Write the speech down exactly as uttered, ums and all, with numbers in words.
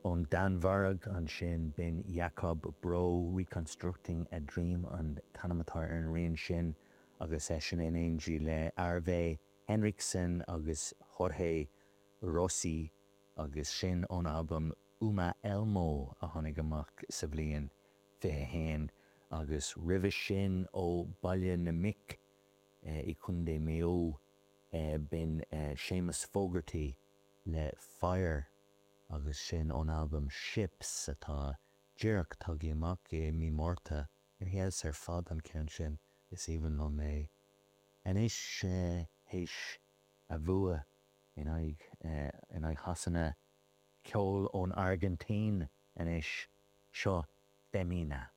Ón Danmhairg ansin b'in Jakob Bro Reconstructing a Dream an t-ainm atá ar an rian sin agus eisean in éindí le Arve Henriksen agus Jorge Rossy agus sin ón albam Uma Elmo a tháinig amach sa bhliain fiche haon agus roimhe sin ó Baile na Mic i Contae Mhaigh Eo b'in Séamus Fogarty le Fire agus sin ón albam Ships atá díreach tagtha amach i mí Márta ar fheabhas ar fad an ceann sin is aoibhinn liom é. Anois théis a bhua in aghaidh in aghaidh Shasana ceol ón Airgintín anois seo Femina.